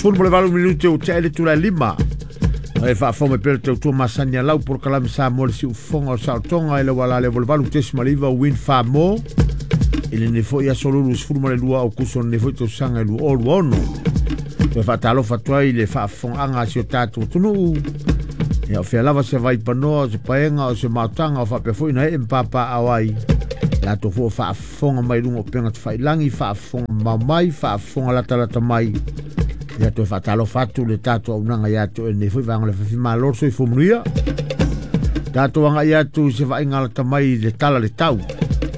18 minute o te ele tula lima. E faafofoga mai pea le tautua masani a lau polokalame Samoa le siufofoga o le saolotoga e le uala le 88.9 Win Famo i lenei foi aso lulu 12 Aukuso lenei foi tausaga e 2026. Toe faatalofa atu ai i le faafofogaaga a si o tatou atunuu. Ia o fea lava se vaipanoa, o se paega, o se maotaga o faapea foi na ee ma papaaao ai. Latou foi o faafofoga mai luga o upega tafailagi, faafofoga mamao mai, faafofoga latalata mai. Ia toe faatalofa atu le tatou auaunaga ia te oe lenei foi vaega o le afiafi. Malo le soifua manuia. Tatou agai atu i se vaaiga lata mai i le tala le tau.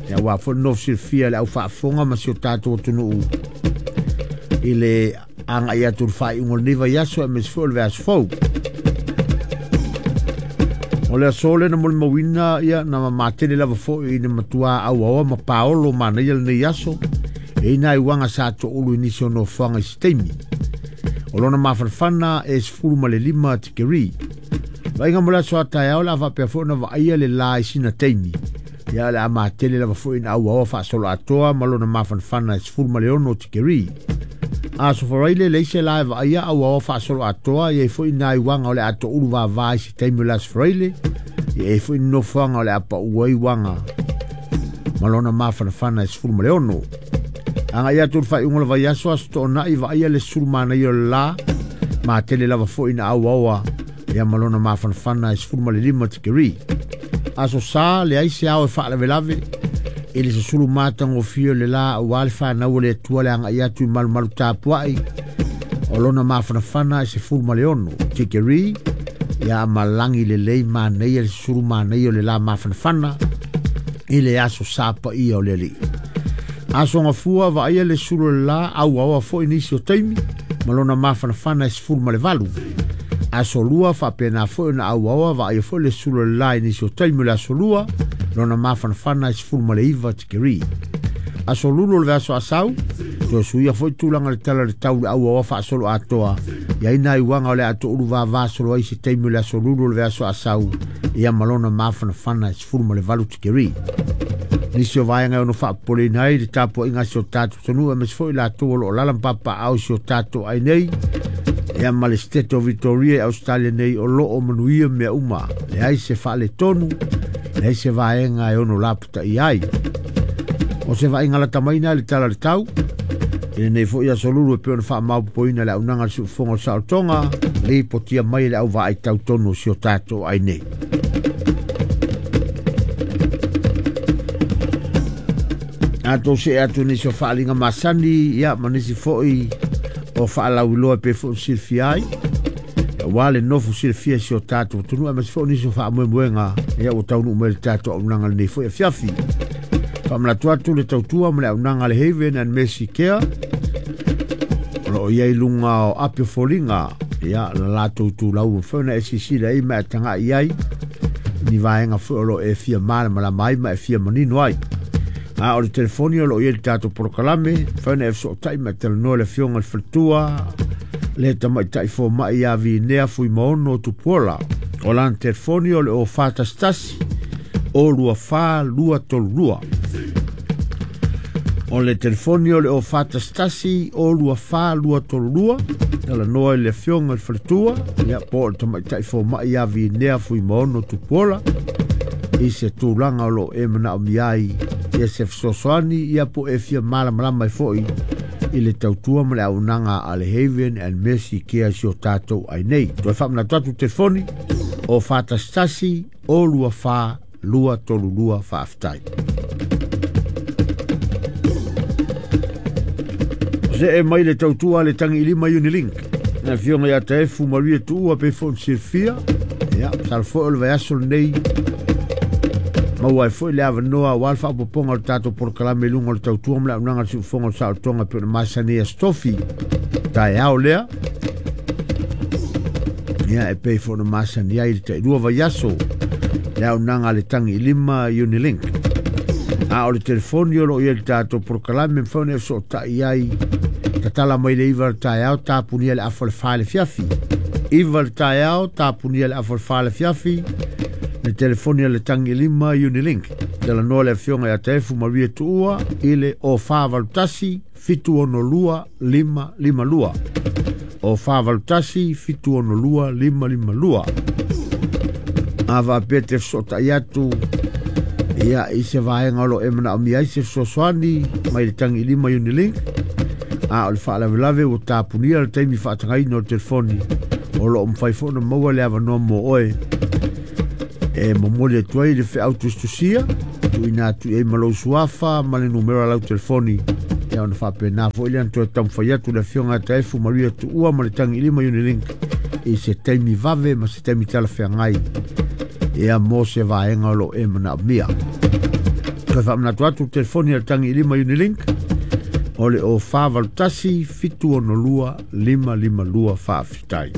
Ia aua foi le nofo silafia le au faafofoga ma si o tatou atunuu i le agai atu i le faaiuga o lenei vaiaso aemaise foi o le vaiaso fou. O le aso lea na molimauina ia na mamatele lava foi ina matua auaoa ma paolo manaia lenei aso. E i nai uaga sa toulu i nisi o nofoaga i se taimi. O lona mafanafana e 15 tikeri. Vaaiga mo le aso a taeao le a faapea foi ona vaaia le la i sina taimi. Ia o le a matele lava foi ina auaoa faasoloatoa ma lona mafanafana e 16 tikeri. Aso Faraile leai se la e vaaia auaoa faasoloatoa, i ai foi nai uaga o le a toulu vava i se taimi o le aso Faraile, i ai foi nofoaga o le a pau ai uaga ma lona mafanafana e 16. Agai atu le faaiuga o le vaiaso aso Toonai vaaia le sulu manaia o le la, matele lava foi ina auaoa ia ma lona mafanafana e 15 tikeri. Aso Sa leai se ao e faalavelave i le susulu matagofie o le la aua le fanau o le Atua le agai atu i malumalu tapuai o lona mafanafana e 16 tikeri. Ia ma lagi lelei manaia le susulu manaia o le la mafanafana i le aso Sa paia o le Alii. Aso Gafua vaaia le sulu o le la auaoa foi nisi o taimi ma lona mafanafana e 18. Aso Lua faapena foi ona auaoa vaaia foi le sulu o le la i nisi o taimi o le aso Lua lona mafanafana e 19 tikeri. Aso Lulu o le vaiaso asau toe suia foi tulaga le tala o le tau le auaoa faasoloatoa i ai nai uaga o le a toulu vava solo ai se taimi o le aso Lulu o le vaiaso asau ia ma lona mafanafana e 18 tikeri. Nisi o vaega e ono faapopoleina ai le tapuaiga a si o tatou atunuu aemaise foi latou o lo o lala ma papaao i si o tatou ai nei ia ma le State of Victoria i Australia nei o lo o manuia mea uma, leai se faaletonu, leai se vaega e ono lapataia ai. O se vaaiga lata mai na i le tala o le tau i lenei foi aso lulu e pei ona faamaopoopoina le auaunaga a le siufofoga o le saolotoga lipotia mai e le auvaai tau tonu o si o tatou ai nei. Tatou see atu nisi o faaaliga masani ia ma nisi foi o faalauiloa e pei foi ona silafia ai aua le nofo silafia i si o tatou atunuu aemaise foi o nisi o faamoemoega ia ua taunuu mai le tatou auaunaga lenei foi afiafi. Faamanatu atu le tautua ma le auaunaga a le Haven and Mercy Care o lo o i ai luga o api o foliga ia la latou tulau ua foi ona e silasila ai ma e tagai ai ni vaega foi o lo o e fia malamalama ai ma e fia manino ai. A o le telefoni o lo o i ai le tatou polokalame, mafai ona e fesootai ma e talanoa i le afioga i le faletua, le tamaitai fomai ia Vinea Fuimaono Tupuola. O lana telefoni o le o 411 o 24 232. O le telefoni o le o 411 o 24 232. Talanoa i le afioga i le faletua, ia po o le tamaitai fomai ia Vinea Fuimaono Tupuola i se tulaga o lo o e manaomia ai ia se fesoasoani ia po e fia malamalama ai foi i le tautua ma le auaunaga a le Haven and Mercy Care si o tatou ai nei. Toe faamanatu atu telefoni o 411 o 24 232. Faafetai. See mai le tautua a le tagi i lima Unilink. Na afioga ia Taefu Maria Tuua pe foi ona silafia. Ia, masalo foi o le vaiaso lenei maua ai foi le avanoa aua le faaopoopoga o le tatou polokalame i luga o le tautua ma le auaunaga a le siufofoga o le saolotoga e pei ona masani ai Aso Tofi. Taeao lea. Ia, e pei foi ona masani ai le tailua vaiaso le auaunaga a le tagi i lima Unilink. A o le telefoni o lo o i ai le tatou polokalame mafai ona e fesootai ai tatala mai le 9 le taeao tapunia le afa o le 4 i le afiafi. 9 le taeao tapunia le afa o le 4 i le afiafi le telefoni a le tagi i lima Unilink. Talanoa le afioga ia Taefu Maria Tuua i le 0481 762 552. O 481 762 552. A faapea e te fesootai atu ia i se vaega o lo o e manaomia ai se fesoasoani mai le Tagiilima Unilink, a o le faalavelave ua tapunia le taimi faatagaina o le telefoni, o lo o mafai foi ona maua le avanoa mo oe e momoli atu ai le feau tusitusia tuuina atu i ai ma lou suafa ma le numera o lau telefoni. Ia ona faapena foi lea ona toe taumafai atu le afioga ia Taefu Maria Tuua ma le Tagiilima Unilink i se taimi vave ma se taimi talafeagai ia mo se vaega o lo o e manaomia. Toe faamanatu atu le telefoni a le Tagiilima Unilink o le 0481 762 552. Faafetai.